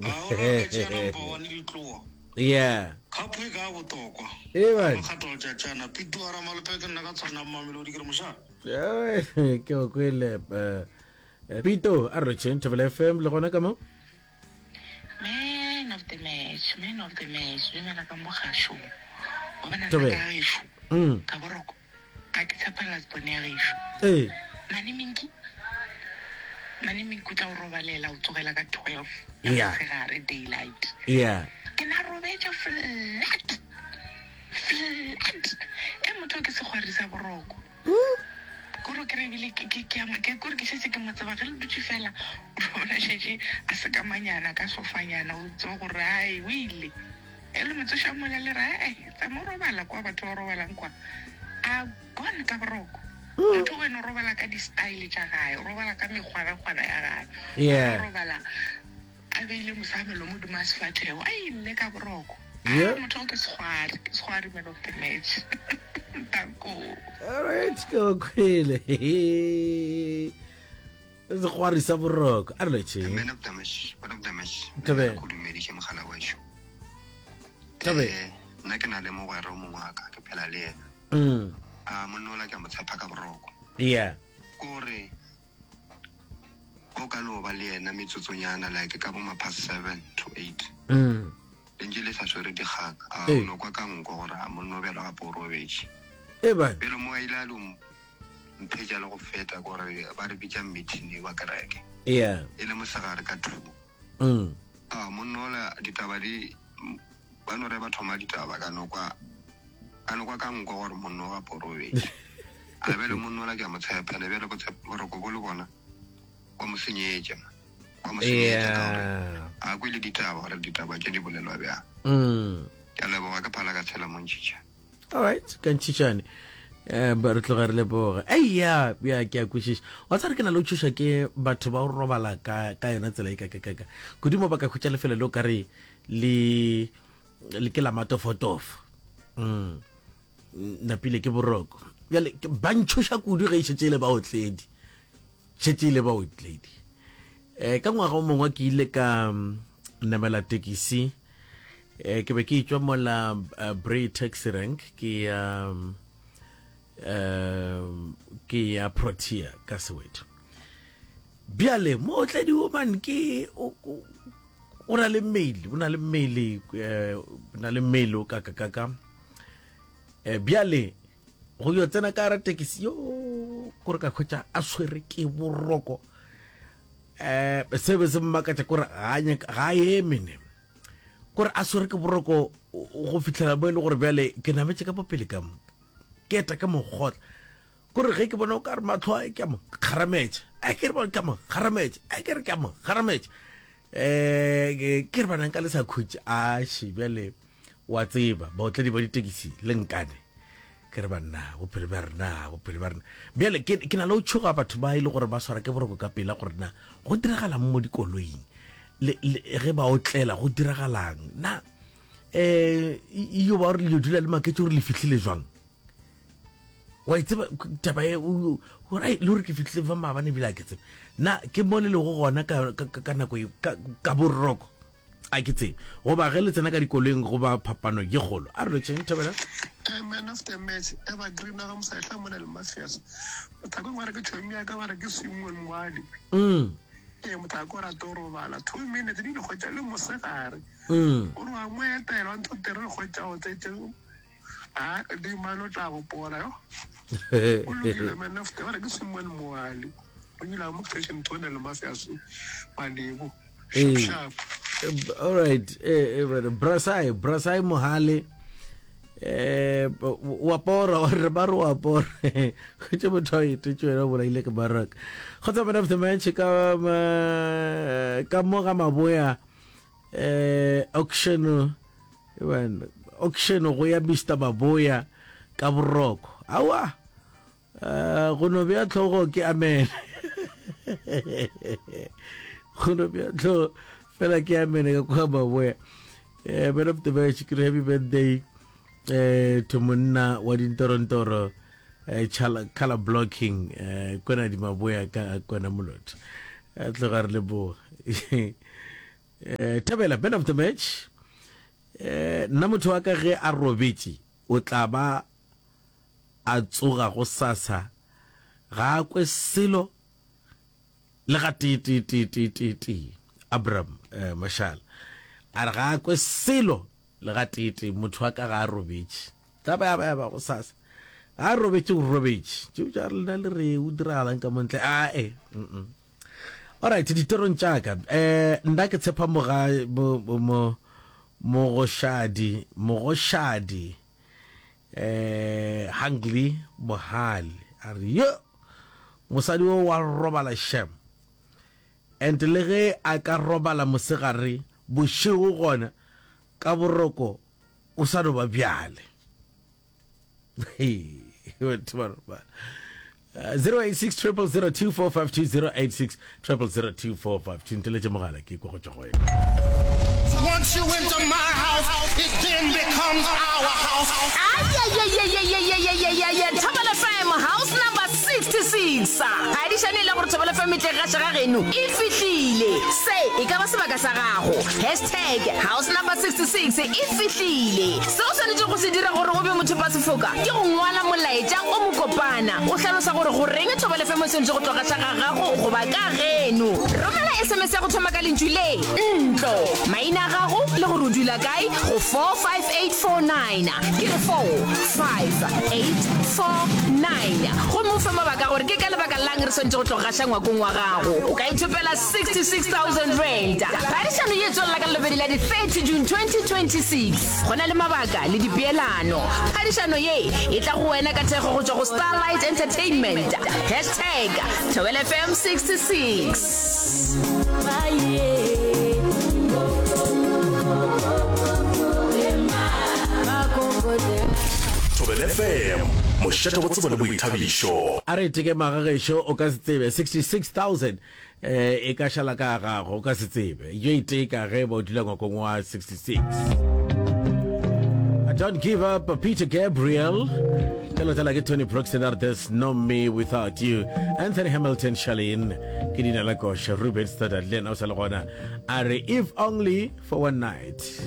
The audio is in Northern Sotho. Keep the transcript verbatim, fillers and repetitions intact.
A o rata tšea number one ditloa. Yeah. Cup e ka botokwa. Ee man. Makgato a tšatšana. Pitu a Ramalope ke nna ka tshwana Mamelodi ke re moša. Ke go kwele eh, Pito a re lotšheng Thobela F M le gona ka mo. Man of the match, man of the match, dumela ka mo gašong. Wa bona nna Thobela. ka gešo, Mm. ka boroko, ga ke tshepa last born ya gešo. Ee. Mane Minki, Mane Minki o tla o robalela o tsogela ka twelve ya Yeah. mosegare daylight. Yeah. Ke na robetše flat, flat. E motho ke sekgwari sa boroko. Kore ke re ebile ke ke ke a mo- ke kore ke šetše ke mo tseba ge le dutše fela o bona šetše a sekamanyana ka sofanyana o tseba gore ai o ile e le motsoša mola le re ee tsama o robala kwa batho ba robalang kwa a gone ka boroko. Motho wena o robala ka di-style tša gae, o robala ka mekgwanakgwana ya gae. Yeah. O robala a beile mosamelo mo godimo ga sefahlego a ile ka boroko. Yeah. Ah, motho o ke sekgwari, ke sekgwari man of the match. Danko. All right, ke go kwele. Sekgwari sa boroko. A re lotšheng. Man of the match, man of the match. Thobela. Go dumediše mogala wešo. Thobela. Eh, nna ke na le mogwera o mongwe wa ka, ke phela le yena. Mm. A monna ola ke a mo tshepa ka boroko. Yeah. Kore o ka no ba le yena metsotsonyana like ka bo ma past seven to eight. Mm. Lentše le sa swere dikgang. A Ee. o no kwa ka nko gore a monna o bjalo gape o robetše. E ba. Pele mo a ile a lo mphetša le go feta kore ba re bitša meeting wa kereke. Yeah. E le mosegare ka two. Mm. A monna ola ditaba di ba no re ba thoma ditaba ka no kwa ka no kwa ka nko gore monna o gape o robetše. A bjale monna ola ke a mo tshepa, ene bjale boroko bo le bona wa mo senyetša. Wa mo senyetša ka gore Yeah. a kwele ditaba gore ditaba tše di bolelwa bjang. Mm. Ke a leboga ke phala ka tshela montšhitšha. All right, ka ntšhitšane. Eh, ba re tloga re leboga. Ei ya, ya ke a kwešiša. Wa tsare ke na le go tšhoša ke batho ba go robala ka ka yona tsela e ka ka ka ka. Kudu mo ba ka hwetša lefelo le o ka re le le ke la matofotofo. Mm. Napile ke boroko. Bjale ke- ba ntšhoša kudu ge e šetše e le baotledi. Šetše e le baotledi. Eh, ka ngwaga o mongwe ke ile ka mm, namela tekisi. Eh, ke be ke etšwa mola uh, Bray taxi rank ke ya um, um, ke ya Protea ka Soweto. Bjale mootledi o man ke o o- o na le mmele, o na le mmele, eh, o na le mmele o ka ka ka ka. Eh, bjale go yo tsena ka gare tekisi yo kore ka hwetša a swere ke boroko. Eh, se be se mmakatša kore ga a nyaka- ga a eme ne. Kore a swere ke boroko go fihlela mo e le gore bjale ke nametše ka popele ka mo ke eta ka mokgotla. Kore ge ke bona o ka re mahlo a ke a mo kgarametša, a ke re bona ke a mo kgarametša, a ke re ke a mo kgarametša. Eh, ke re bana nka le sa khutše, a she bjale wa tseba baotledi ba ditekisi le nkane. Ke re banna bophelo bja rena, bophelo bja rena. Bjale ke ke na le go tšhoga batho ba e le gore ba swara ke boroko ka pela gore na go diragalang mo dikoloing le, le ge ba otlela go diragalang na eh iyo ba gore le dula le maketše gore le fihlile jwang. Wa e tseba taba e gore ai, le gore ke fihlile fa maabane ebile a ke tsebe na ke mo le lego gona ka, ka, ka, ka nako e ka, ka boroko a ke tsebe goba ge le tsena ka dikoloing go ba phapano ye kgolo. A re lotšheng Thobela. Eh, man of the match evergreen ga mosehla mona le mafias mothako ba re ke tšhomi ya ka ba re ke Simon Moadi. Mm. Ee, mothako o rata go robala two minutes di le kgwetša le mosegare. Mm. O re wa mo etela wa ntho tere re kgwetša o tsetse a di mane o tla gopola yo. O lokile man of the ba re ke Simon Moali o ile mo station tone le mafias malebo. Ee. Sharp, sharp. All right, eh, eh, Brasai, Brasai Mohale. Eh, wa pora, wa re ba re wa pora. Go motho a etetše wena o bolaile ke baraka. Kgotsa man of the match ka ma- ka mo ga Maboya eh auction bana auction go ya Mister Maboya ka boroko. Awa. Eh go no bea tlhogo ke amen. Go no bea tlhogo fela ke amen ka kwa Maboya. Eh man of the match ke happy birthday eh to monna wa dintorontoro eh chala color blocking eh kwena di Maboya ka kwena molotho. Eh tloga re leboga. Eh, Thabela man of the match. Eh, nna motho wa ka ge a robetše o tla ba a tsoga go sasa ga a kwe selo le ga tee tee tee tee tee tee. Abraham eh, Mashala a re ga a kwe selo le ga tee tee motho wa ka ga a robetše tla ba ya ba ya ba go sasa ga a robetše o robetše tšeo tša lena le re o diragalang ka montle ae mm alright ditorong tša ka eh nna ke tshepa moga mo mo mogoshadi mogoshadi eh Hungly Mohale a re yo mosadi o wa robala shem and le ge a ka robala mosegare bošego gona ka boroko o sa no ba bjale. Batho ba robala. zero eight six triple zero two four five two zero eight six triple zero two four five two nteletše mogala ke kwa go tšwa go wena. Once you enter my house, it then becomes our house. Ayayayayayayayayaya Thobela F M house number sixty-six. Phadišano e la gore Thobela F M e tle gaša ga geno e fihlile. Se e ka ba sebaka sa gago. Hashtag house number sixty-six e fihlile. Se o swanetšego go se dira gore o be mothopasefoka ke go ngwala molaetša o mokopana o hlalosa gore goreng Thobela F M e swanetše go tlo gaša ga gago goba ka geno. Romela S M S ya go thoma ka lentšu le ntlo, maina a gago le gore o dula kae go four five eight four nine. Ke re four five eight four nine. Gomme o fe mabaka a gore ke ka lebaka la'ng re swanetše go tlo gaša ngwakong wa gago. O ka ithopela sixty six thousand rand. Phadišano ye e tswelela ka Lelobedi la di thirty June twenty twenty six. Go na le mabaka le dipeelano. Phadišano ye e tla go wena ka thekgo go tšwa go Starlight Entertainment. Hashtag Thobela F M sixty six. Thobela F M, mošate wa tsebo le boithabišo. A re teke magagešo, o ka se tsebe sixty six thousand eh, e ka šala ka gago, o ka se tsebe. Yo iteka ge ba o dula ngwakong wa sixty six. Don't Give Up, Peter Gabriel. Ka lotela ke Tony Braxton a re There's No Me Without You. Anthony Hamilton, Charlene ke dina la koša. Ruben Studdard le yena o sa le gona a re If Only for One Night.